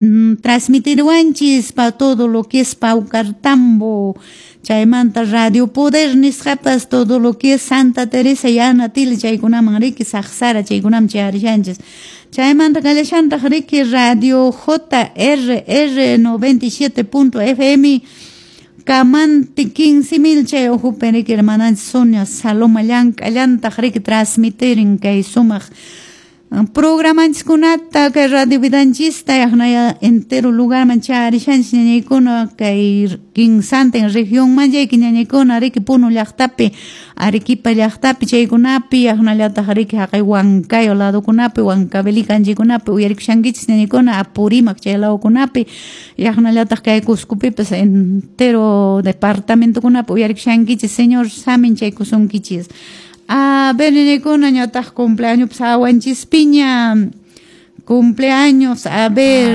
Transmitirwanchis pa todo lo que es Paucartambo, chaymanta Radio Poder nisqapas todo lo que es Santa Teresa y Anatil chaykunaman riki, Saqsara chaykunaman chayarishanchis. Chaymanta kallashantaq riki Radio JRR 97.fm Camanti 15.000 chay uhupi riki hermananchis Sonia Saloma llank'allantaq riki transmitirin kay sumaq programanchikkunata kay Radio Vidanchista yaqnaya entero lugarman chayarishanchis ñañaykuna kay kinsantin regionman chayki ñañaykuna riki Puno llaqtapi, Arequipa llaqtapi chaykunapi yaqnallataq riki haqay Huancayo ladokunapi, Huancavelica anchaykunapi uyarikushankichis ñañaykuna Apurímac chay ladokunapi yaqnallataq kay Cuscopipas entero departamentokunapi uyarikushankichis. Señor samin chaykusunkichis. A ver, ñañaykuna, ñataq cumpleaños awanchispiña. Cumpleaños, a ver.